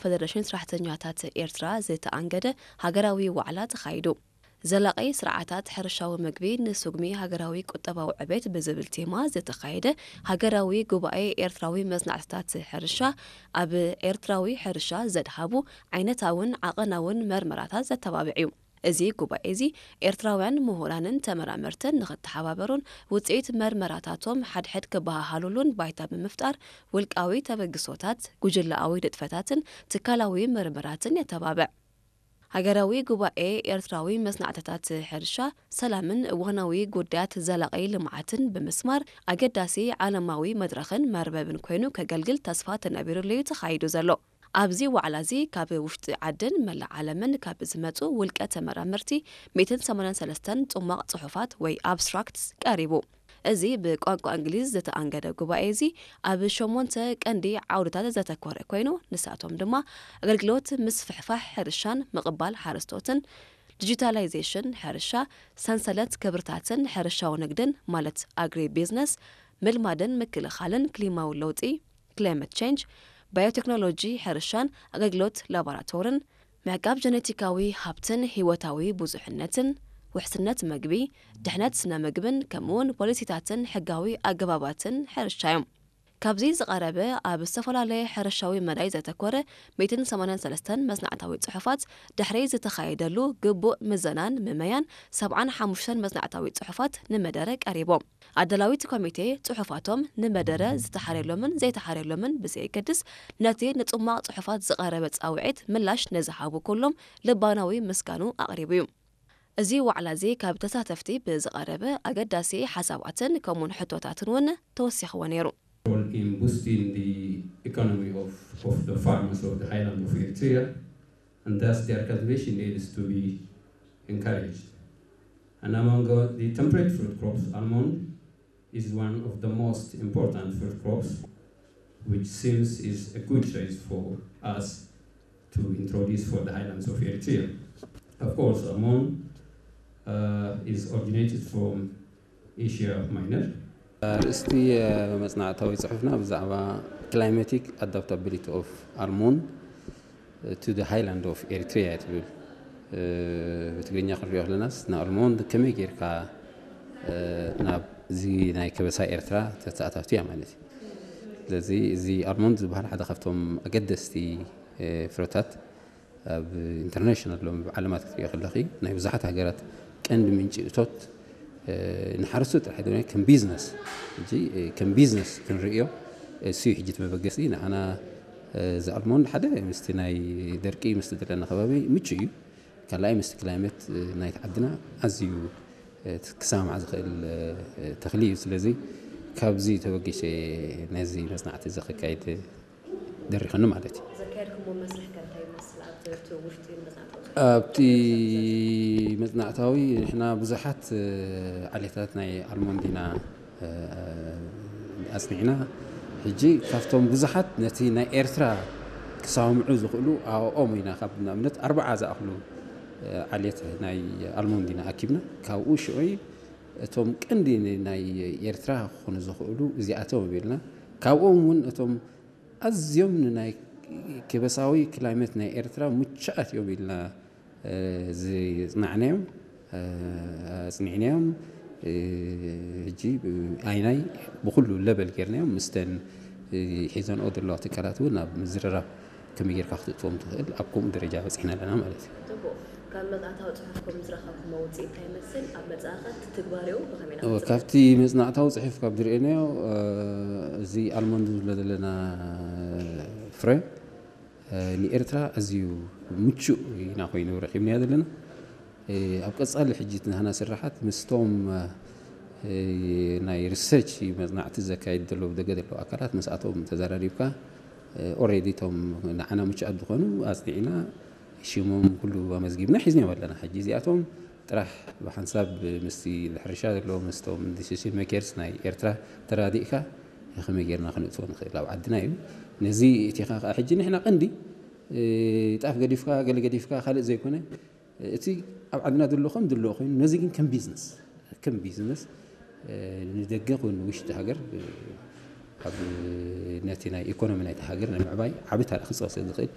ፈደረሽን ሰራሕተኛታት ኤርትራ ዝተኣንገደ ሃገራዊ ዋዕላ ተኻይዱ። ዘላቒ ስርዓታት ሕርሻዊ ምግቢ ንስጉሚ ሃገራዊ ቁጠባዊ ዕቤት ብዝብል ቴማ ዝተኻየደ ሃገራዊ ጉባኤ ኤርትራዊ መጽናዕትታት ሕርሻ፣ ኣብ ኤርትራዊ ሕርሻ ዘድሃቡ ዓይነታውን ዓቐናውን መርመራታት ዘተባብዕ እዩ። እዚ ጉባኤ እዚ ኤርትራውያን ምሁራንን ተመራመርትን ንኽተሓባበሩን ውጽኢት መርመራታቶም ሓድሕድ ክበሃሃሉሉን ባይታ ብምፍጣር፣ ውልቃዊ ተበግሶታት፣ ጉጅለኣዊ ንጥፈታትን ትካላዊ መርመራትን የተባብዕ። ሃገራዊ ጉባኤ ኤርትራዊ መጽናዕትታት ሕርሻ፣ ሰላምን እዋናዊ ጉዳያት ዘላቒ ልምዓትን ብምስማር፣ ኣገዳሲ ዓለማዊ መድረኽን መርበብን ኮይኑ ከገልግል ተስፋ ተነቢሩሉ እዩ ተኻይዱ ዘሎ። ኣብዚ ዋዕላ እዚ ካብ ውሽጢ ዓድን መላእ ዓለምን ካብ ዝመጹ ውልቀ ተመራመርቲ ሚእትን ሰማንያን ሰለስተን ጽሟቕ ጽሑፋት ወይ ኣብስትራክትስ ቀሪቡ። እዚ ብቋንቋ እንግሊዝ ዝተኣንገደ ጉባኤ እዚ ኣብ ሸሞንተ ቀንዲ ዓውድታት ዘተኮረ ኮይኑ፣ ንሳቶም ድማ ኣገልግሎት ምስፍሕፋሕ ሕርሻን ምቕባል ሓረስቶትን፣ ዲጂታላይዜሽን ሕርሻ፣ ሰንሰለት ክብርታትን ሕርሻዊ ንግድን ማለት ኣግሪ ቢዝነስ፣ ምልማድን ምክልኻልን ክሊማዊ ለውጢ፣ ክላይመት ቼንጅ፣ ባዮቴክኖሎጂ ሕርሻን ኣገልግሎት ላቦራቶርን፣ ምዕቃብ ጀነቲካዊ ሃብትን ህይወታዊ ብዙሕነትን፣ ውሕስነት መግቢ፣ ድሕነት ስነ ምግብን ከምኡውን ፖሊሲታትን ሕጋዊ ኣገባባትን ሕርሻ እዮም። ካብዚ ዝቐረበ ኣብ ዝተፈላለየ ሕርሻዊ መዳይ ዘተኮረ ሚእትን ሰማንያን ሰለስተን መጽናዕታዊ ጽሑፋት ድሕሪ ዝተኻየደሉ ግቡእ ምዘናን ምመያን ሰብዓን ሓሙሽተን መጽናዕታዊ ጽሑፋት ንመደረ ቀሪቦም። ኣዳላዊት ኮሚቴ ጽሑፋቶም ንመደረ ዝተሓርየሎምን ዘይተሓርየሎምን ብዘየገድስ፣ ነቲ ንጽሟቕ ጽሑፋት ዝቐረበ ጻውዒት ምላሽ ንዝሃቡ ኩሎም ልባናዊ ምስጋኑ ኣቕሪቡ እዩ። እዚ ዋዕላ እዚ ካብ ተሳተፍቲ ብዝቐረበ ኣገዳሲ ሓሳባትን ከምኡውን ሕቶታትን እውን ተወሲኽዎ ነይሩ። Role in boosting the economy of, of the farmers of the highland of Eritrea, and thus their cultivation needs to be encouraged. And among uh, the temperate fruit crops, almond is one of the most important fruit crops, which seems is a good choice for us to introduce for the highlands of Eritrea. Of course, almond uh, is originated from Asia Minor. ኣርእስቲ መጽናዕታዊ ጽሑፍና ብዛዕባ Climatic Adaptability of Almond to the Highland of Eritrea ትብል። ብትግርኛ ክንሪኦ ከለናስ ንኣልሞንድ ከመይ ጌርካ ናብዚ ናይ ከበሳ ኤርትራ ተተኣታቱ እያ ማለት እዩ። ስለዚ እዚ ኣልሞንድ ዝበሃል ሓደ ካብቶም ኣገደስቲ ፍረታት ኣብ ኢንተርናሽናል ሎም ዓለማት ክትሪኦ ከለኺ ናይ ብዙሓት ሃገራት ቀንዲ ምንጪ እቶት ንሓረስቶት ጥራሕ ኣይኮነ ከም ቢዝነስ ሕጂ ከም ቢዝነስ ክንርእዮ እሱ እዩ ሕጂ እቲ መበገሲ ንዓና እዚ ኣልሞንድ ሓደ ምስቲ ናይ ደርቂ ምስቲ ዘለና ከባቢ ምቹ እዩ ካልኣይ ምስቲ ክላይመት ናይቲ ዓድና ኣዝዩ ክሰማማዕ ዝኽእል ተኽሊ እዩ ስለዚ ካብዚ ተበጊሰ ነዚ መፅናዕቲ እዚ ከካይድ ደሪኸኒ ማለት እዩ። ዘካየድኩሞ መስርሕ ከ እንታይ ይመስል? ኣብቲ ውሽጢ መፅናዕታዊ ኣብቲ መፅናዕታዊ ንሕና ብዙሓት ዓሌታት ናይ ኣልሞንድ ኢና ኣፅኒዕና። ሕጂ ካብቶም ብዙሓት ነቲ ናይ ኤርትራ ክሰማምዑ ዝኽእሉ ኣብኦም ኢና ካብ ንኣብነት ኣርባዓ ዝኣኽሉ ዓሌት ናይ ኣልሞንድ ኢና ኣኪብና። ካብኡ ሽዑ እቶም ቀንዲ ናይ ኤርትራ ክኾኑ ዝኽእሉ እዚኣቶም ኢልና ካብኦም እውን እቶም ኣዝዮም ንናይ ከበሳዊ ክላይመት ናይ ኤርትራ ምቹኣት እዮም ኢልና ዝፅናዕናዮም ኣፅኒዕናዮም ሕጂ ኣይናይ ብኩሉ ለበል ጌርናዮም ምስተን ሒዘንኦ ዘለዋ ትካላት እውን ናብ ምዝርራብ ከመይ ጌርካ ክትእትዎም ትኽእል ኣብ ከምኡ ደረጃ በፂሕና ኣለና ማለት እዩ። ካብ መፅናዕታዊ ፅሑፍኩም ዝረኸብኩሞ ውፅኢት እንታይ ይመስል? ኣብ መፃኢ ኸ ትትግባሬኡ ብኸመይ ኢና እወ፣ ክንፅበዮ? ካብቲ መፅናዕታዊ ፅሑፍ ካብ ዝርእየናዮ እዚ ኣልሞንድ ዝብሎ ዘለና ፍረ ንኤርትራ ኣዝዩ ምቹእ ኢና ኮይኑ ረኺብናዮ ዘለና። ኣብ ቀፃሊ ሕጂ ናህና ስራሓት ምስቶም ናይ ሪሰርች መፅናዕቲ ዘካይድ ዘለዉ ደገ ዘለዉ ኣካላት ምስኣቶም ተዘራሪብካ ኦሬዲ እቶም ንዓና ምቹኣት ዝኾኑ ኣፅኒዕና ሽሞም ኩሉ ኣመዝጊብና ሒዝናዮም ኣለና። ሕጂ እዚኣቶም ጥራሕ ብሓንሳብ ምስቲ ሕርሻ ዘለዉ ምስቶም ዲሲሽን ሜከርስ ናይ ኤርትራ ተራዲእካ ከመይ ጌርና ክንእትዎ ንኽእል ኣብ ዓድና እዩ። ነዚ እቲኻ ከዓ ሕጂ ንሕና ቀንዲ ጣፍ ገዲፍካ ገለ ገዲፍካ ካልእ ዘይኮነ እቲ ኣብ ዓድና ዘሎ ከም ዘለዎ ኮይኑ ነዚ ግን ከም ቢዝነስ ከም ቢዝነስ ንደገ ኮይኑ ንውሽጢ ሃገር ኣብ ነቲ ናይ ኢኮኖሚ ናይቲ ሃገር ናይ ምዕባይ ዓቢ ታሪክ ክፅወ ስለ ዝኽእል